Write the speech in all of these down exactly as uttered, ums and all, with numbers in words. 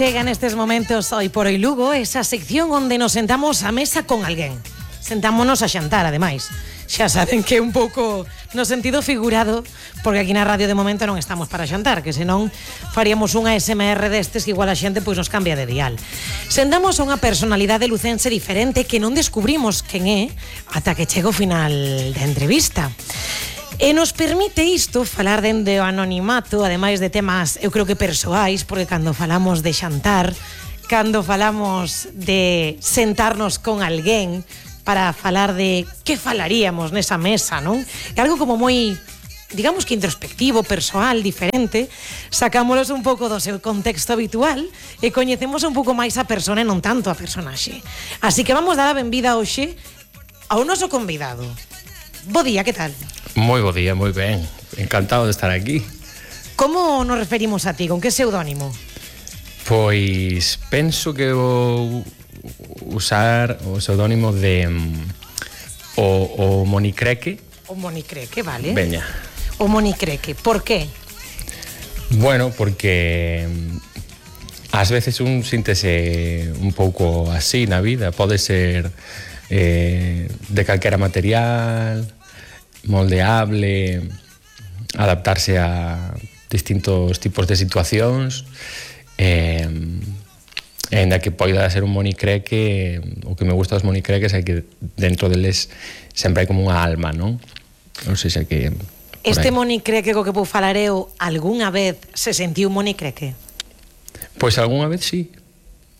Chega nestes momentos Hoy por Hoy Lugo, esa sección onde nos sentamos á mesa con alguén. Sentámonos a xantar, ademais. Xa saben que é un pouco no sentido figurado, porque aquí na radio de momento non estamos para xantar, que senón faríamos unha S M R destes que igual a xente pois nos cambia de dial. Sentamos a unha personalidade lucense diferente que non descubrimos quen é ata que chega o final da entrevista. E nos permite isto falar dende o anonimato, ademais de temas, eu creo que persoais, porque cando falamos de xantar, cando falamos de sentarnos con alguén para falar de que falaríamos nesa mesa, non? É algo como moi, digamos que introspectivo, persoal, diferente, sacámolos un pouco do seu contexto habitual e coñecemos un pouco máis a persona e non tanto a personaxe. Así que vamos dar a benvida hoxe ao noso convidado. Bo día, que tal? Moi bo día, moi ben. Encantado de estar aquí. Como nos referimos a ti? Con que pseudónimo? Pois penso que vou usar o pseudónimo de um, o, o Monicreque. O Monicreque, vale. Veña. O Monicreque, por qué? Bueno, porque ás veces un síntese un pouco así na vida. Pode ser eh, de calquera material, moldeable, adaptarse a distintos tipos de situacións, eh, en da que poida ser un monicreque. O que me gusta dos monicreques é que dentro deles sempre hai como unha alma, non? Non sei se que... Este monicreque co que vou falar eu algunha vez se sentiu monicreque? Pois algunha vez sí,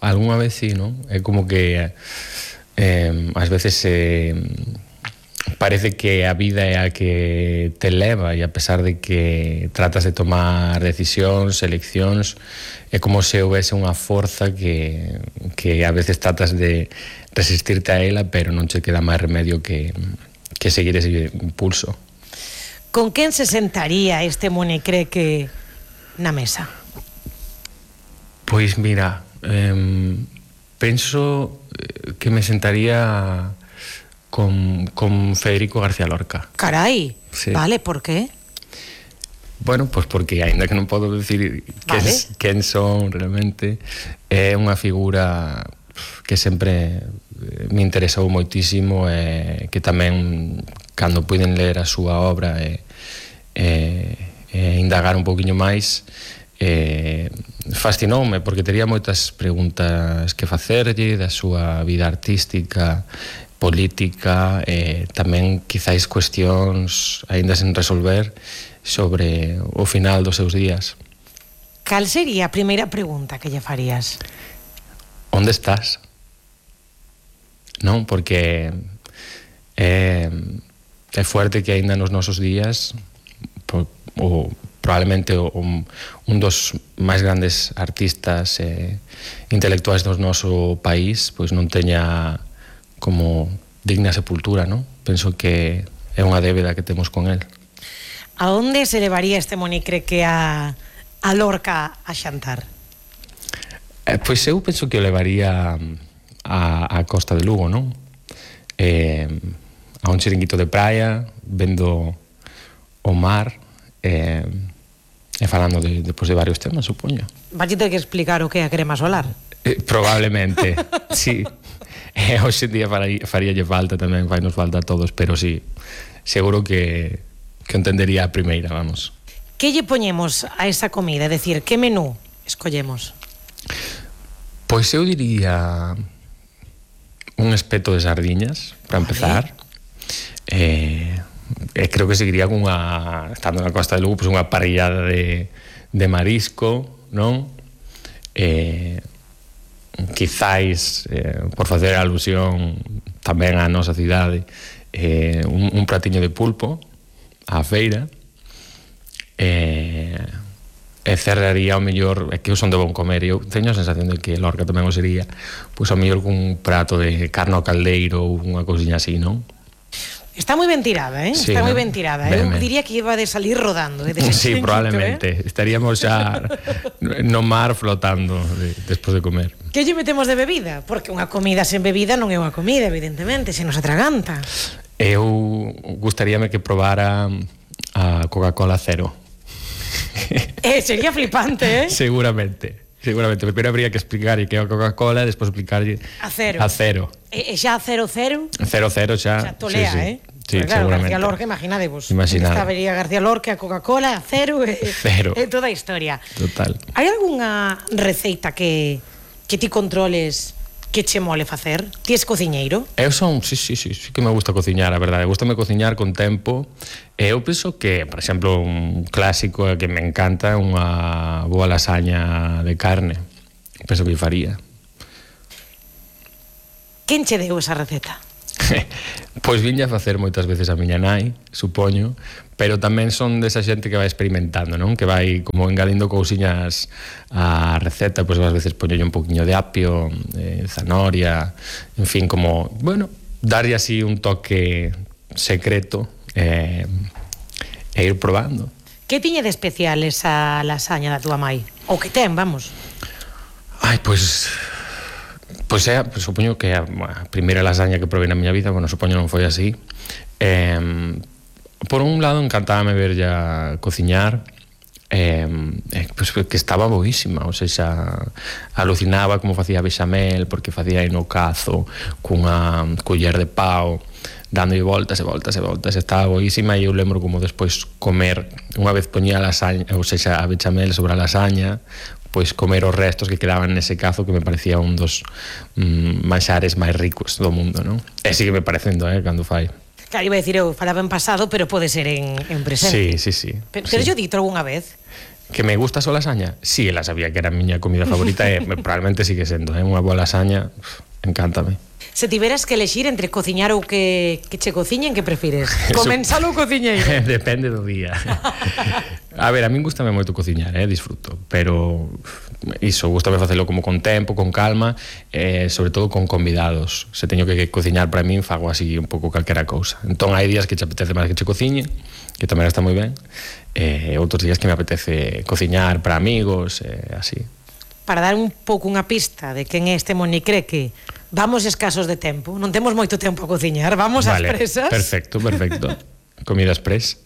algunha vez sí, non? É como que eh, ás veces eh, parece que a vida é a que te leva, e a pesar de que tratas de tomar decisións, eleccións, é como se houvese unha forza que, que a veces tratas de resistirte a ela, pero non che queda máis remedio que, que seguir ese impulso. Con quen se sentaría este monicreque na mesa? Pois mira, eh, penso que me sentaría con, con Federico García Lorca. Carai, sí. Vale, por qué? Bueno, pois porque aínda que non podo decir quen, vale. quen son realmente, é unha figura que sempre me interesou moitísimo, e que tamén cando puiden ler a súa obra e, e, e indagar un pouquiño máis, e fascinoume porque tería moitas preguntas que facerlle da súa vida artística, política, e tamén quizáis cuestións aínda sen resolver sobre o final dos seus días. Cal sería a primeira pregunta que lle farías? Onde estás? Non, porque é, é fuerte que aínda nos nosos días o, o probablemente o, un dos máis grandes artistas e intelectuais do noso país pois non teña como digna sepultura, non? Penso que é unha débeda que temos con el. A onde se levaría este monicreque a, a Lorca a xantar? Eh, pois eu penso que o levaría a, a Costa de Lugo, non? Eh, a un chiringuito de praia, vendo o mar, eh, e falando de, depois de varios temas, supoño. Valle ter que explicar o que é a crema solar. Eh, probablemente, sí. Eh, hoxe en día faríalle falta tamén, vai nos falta a todos, pero sí, seguro que, que entendería a primeira, vamos. Que lle poñemos a esa comida? É dicir, que menú escollemos? Pois eu diría un espeto de sardiñas, para empezar. Eh, e creo que seguiría con unha, estando na Costa de Lugo, pois unha parrillada de, de marisco, non? Eh, quizáis, eh, por facer alusión tamén á nosa cidade, eh, un, un pratiño de pulpo á feira, e, e cerraría ao mellor, é que eu son de bon comer, e eu teño a sensación de que Lorca tamén o sería, pois ao mellor con un prato de carne ao caldeiro ou unha cousiña así, non? Está moi ben tirada, eh? Sí, Está ¿no? moi ben tirada. Eu ben, diría que iba de salir rodando, eh? De sí, probablemente. Eh? Estaríamos xa no mar flotando de, despois de comer. Que lle metemos de bebida? Porque unha comida sen bebida non é unha comida, evidentemente, se nos atraganta. Eu gustaríame que probara a Coca-Cola cero. Eh, sería flipante, eh? Seguramente. seguramente. Pero habría que explicar que é a Coca-Cola e despois explicarlle a cero. A cero. E, e xa a cero cero? Cero cero xa. Xa tolea, sí, sí. eh? Sí, pues claro, seguramente. García Lorca, imaginadevos. Imaginade. Esta vería García Lorca, Coca-Cola, a cero e, Cero. e toda a historia. Total. Hai algunha receita que, que ti controles que che mole facer? Ti es cociñeiro? Eu son, sí, sí, sí, sí que me gusta cociñar, a verdade. Gústame cociñar con tempo. E eu penso que, por exemplo, un clásico que me encanta é unha boa lasaña de carne. Penso que faría. Quen che deu esa receta? Pois vinha a facer moitas veces a miña nai, supoño, pero tamén son desa xente que vai experimentando, non? Que vai como engadindo cousiñas á receta, pois ás veces poñolle un poquinho de apio, eh, zanahoria, en fin, como, bueno, darlle así un toque secreto eh, e ir probando. Que tiñe de especial esa lasaña da túa mai? O que ten, vamos? Ai, pois... Pois é, pues, supoño que a, a primeira lasaña que probei na miña vida, bueno, supoño non foi así. Eh, por un lado, encantábame ver ya cociñar, eh, eh, pues, que estaba boísima, ou seja, alucinaba como facía bechamel, porque facía aí no cazo, cunha culler de pau, dándolle voltas e voltas e voltas, estaba boísima, e eu lembro como despois comer, unha vez poñía a lasaña, ou seja, a bechamel sobre a lasaña, pois comer os restos que quedaban nese cazo, que me parecía un dos mm, manxares máis ricos do mundo, non? E sigue me parecendo, eh, cando fai. Claro, iba a decir eu, falaba en pasado, pero pode ser en, en presente. Sí, sí, sí. Pero, pero sí. yo dito algunha vez? Que me gusta só lasaña? Sí, ela sabía que era a miña comida favorita e probablemente sigue sendo, eh? Unha boa lasaña, uf, encántame. Se tiveras que elexir entre cociñar ou que, que che cociñen, que prefires? Comensal ou cociñeiro? Depende do día. A ver, a min gustame moito cociñar, eh, disfruto, pero iso, gustame facelo como con tempo, con calma, eh, sobre todo con convidados. Se teño que cociñar para min, fago así un pouco calquera cousa. Entón hai días que che apetece máis que che cociñe, que tamén está moi ben, e eh, outros días que me apetece cociñar para amigos, eh, así. Para dar un pouco unha pista de quen é este monicreque, vamos escasos de tempo, non temos moito tempo a cociñar, vamos vale, ás presas. Perfecto, perfecto. Comida express.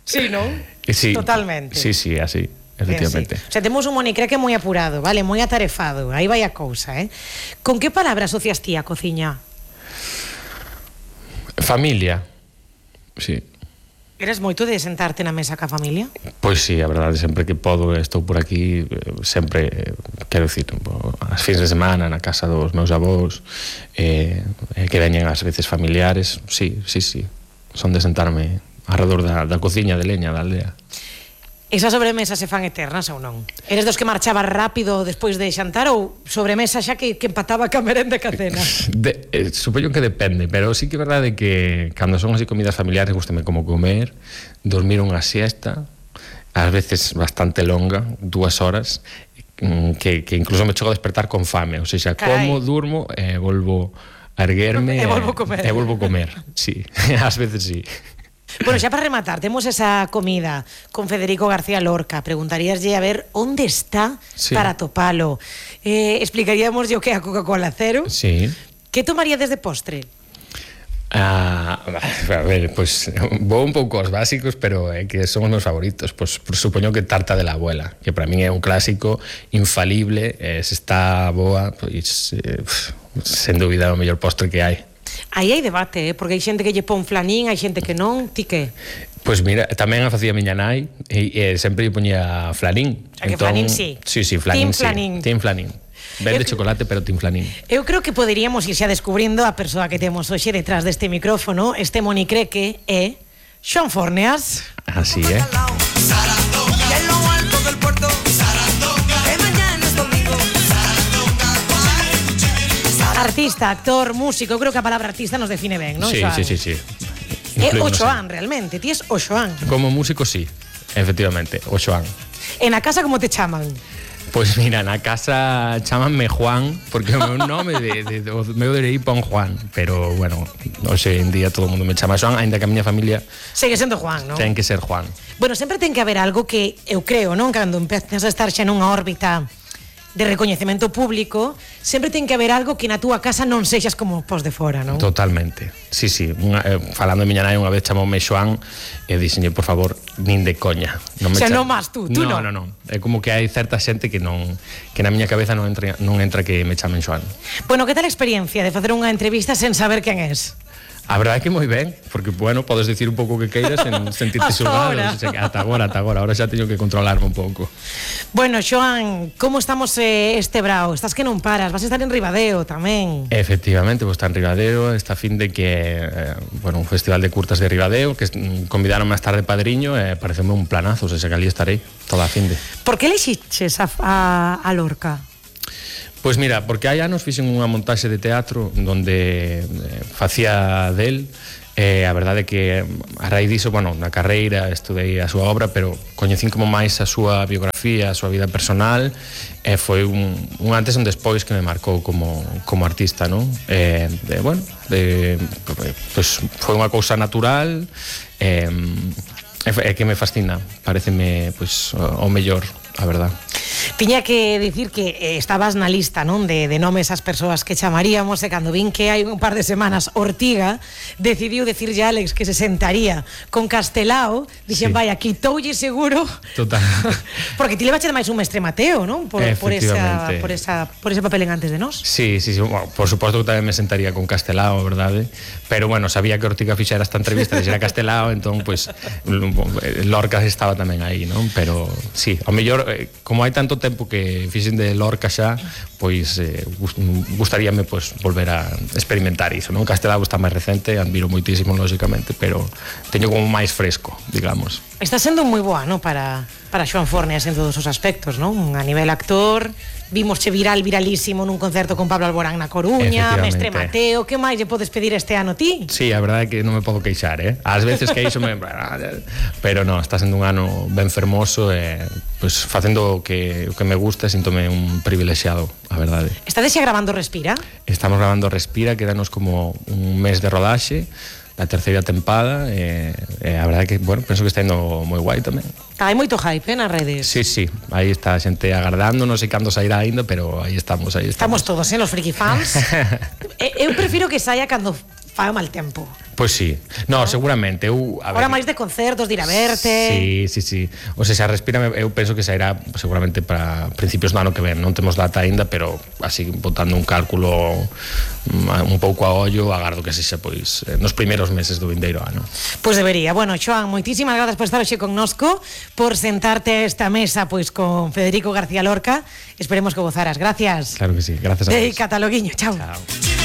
Sí, non? Sí, totalmente. Sí, sí, así, efectivamente. Sí. O sea, temos un monicreque moi apurado, vale, moi atarefado, aí vai a cousa, eh? Con que palabra asocias ti a cociña? Familia, sí. Eres moito de sentarte na mesa ca familia? Pois sí, a verdade, sempre que podo estou por aquí, sempre, quero dicir, as fins de semana na casa dos meus avós, eh, que veñen ás veces familiares, sí, sí, sí, son de sentarme alrededor da, da cociña de leña da aldea. Esas sobremesas se fan eternas ou non? Eres dos que marchaba rápido despois de xantar ou sobremesa xa que, que empataba ca merenda e ca cena? De, eh, supoño que depende, pero sí que é verdade que cando son así comidas familiares gústame como comer, dormir unha siesta, ás veces bastante longa, dúas horas, que, que incluso me chego a despertar con fame, ou seja, como, durmo e eh, volvo a erguerme e volvo a comer. E volvo a comer, sí, ás veces sí. Bueno, xa para rematar, temos esa comida con Federico García Lorca. Preguntaríaslle a ver onde está sí. para topalo. Eh, explicaríamos o que é a Coca-Cola Cero. Sí. Que tomaría desde postre? Ah, a ver, pues vou un pouco aos básicos, pero é eh, que son os meus favoritos. Pues, pues supoño que tarta de la abuela, que para min é un clásico infalible, eh, se está boa, pois eh, sen dúbida o mellor postre que hai. Aí hai debate, eh? Porque hai xente que lle pon flanín, hai xente que non, ti que? Pois mira, tamén a facía miña nai e, e sempre lle poñía flanín. O sea, que entón, flanín sí. Sí, sí, flanín Team sí. Flanín. Team flanín. Ben de chocolate, pero team flanín. Eu creo que poderíamos ir xa descubrindo a persoa que temos hoxe detrás deste micrófono, este monicreque é Xoan Forneas. Así, eh? Artista, actor, músico, eu creo que a palabra artista nos define ben, non? Sí, Xoan? sí, sí, sí. É o Xoan, realmente, ti es o Xoan. Como músico, sí, efectivamente, o Xoan. En a casa como te chaman? Pois pues mira, na casa chamanme Juan, porque o meu nome de, de, de, o meu de aí pon Juan, pero bueno, hoxe en día todo o mundo me chama Xoan, aínda que a miña familia segue sendo Juan, non? Ten que ser Juan. Bueno, sempre ten que haber algo que eu creo, non? Cando empezas a estar xa nunha órbita de recoñecemento público, sempre ten que haber algo que na túa casa non sexas como pos de fora, non? Totalmente. Sí, sí, unha, eh, falando de miña nai unha vez chamoume Xoán e dixenlle, por favor, nin de coña. Non me o sea, non máis tú, tú non. non. Non, non, é como que hai certa xente que non que na miña cabeza non entra, non entra que me chamen Xoán. Bueno, que tal a experiencia de facer unha entrevista sen saber quen és? A verdade é que moi ben, porque, bueno, podes dicir un pouco o que queiras sen sentirte xulgado. Ata agora, ata agora, ahora xa teño que controlarme un pouco. Bueno, Xoán, como estamos eh, este brao? Estás que non paras, vas a estar en Ribadeo tamén. Efectivamente, vou estar en Ribadeo, esta fin de que, eh, bueno, un festival de curtas de Ribadeo, que convidaron máis tarde padriño, e eh, pareceme un planazo, o sea, que ali estarei toda a fin de. Por que elixiches a, a, a Lorca? Pois mira, porque hai anos fixen unha montaxe de teatro onde eh, facía del, e a verdade é que a raíz diso, bueno, na carreira estudei a súa obra, pero coñecín como máis a súa biografía, a súa vida personal, e foi un, un antes e un despois que me marcou como, como artista, non? E, de, bueno, de, pues, foi unha cousa natural, e, e que me fascina, pareceme pues, o mellor, a verdade. Tiña que dicir que eh, estabas na lista, non, de, de nomes as persoas que chamaríamos, e cando vin que hai un par de semanas Ortiga decidiu decirlle a Alex que se sentaría con Castelao, dixen, sí, vaya, quitoulle seguro. Total. Porque ti levache máis un mestre Mateo, non? Por, por, esa, por, esa, por ese papel en Antes de Nós. Sí, sí, sí, bueno, por suposto que tamén me sentaría con Castelao, verdade? Pero bueno, sabía que Ortiga fixera esta entrevista, dixera Castelao, entón, pues, Lorca estaba tamén aí, non? Pero, sí, ao mellor, como hai tanto tempo que fixen de Lorca xa, pois eh, gustaríame pois volver a experimentar iso, non? Castelao está máis recente, admiro moitísimo lógicamente, pero teño como máis fresco, digamos. Está sendo moi boa, non, para para Xoán Fornes en todos os aspectos, non? A nivel actor, vimosche viral, viralísimo nun concerto con Pablo Alborán na Coruña, mestre Mateo, que máis lle podes pedir este ano ti? Sí, a verdade é que non me podo queixar, eh? Ás veces que iso me... pero non, está sendo un ano ben fermoso e pues, facendo o que, o que me gusta, síntome un privilexiado, a verdade. Estades xa grabando Respira? Estamos grabando Respira, quedanos como un mes de rodaxe, a terceira tempada, e, e a verdade que, bueno, penso que está indo moi guai tamén. Hai moito hype, eh, nas redes. Sí, sí, aí está a xente agardando, non sei cando sairá ainda, pero aí estamos, aí estamos. Estamos todos, eh, los friki fans. Eu prefiro que saia cando faga mal tempo. Pois sí, no, ¿no? Seguramente eu, a Ahora ver, máis de concertos, de ir a verte. Sí, sí, sí. O sea, se Respira, eu penso que sairá seguramente para principios do ano que ven. Non temos data aínda, pero así botando un cálculo un pouco a ollo, agardo que sexa pois nos primeiros meses do vindeiro ano. Pois debería. Bueno, Xoán, moitísimas grazas por estar hoxe connosco, por sentarte a esta mesa pois con Federico García Lorca. Esperemos que gozaras. Gracias. Claro que sí. Gracias a vos. De Cataloguiño. Chao. Chao.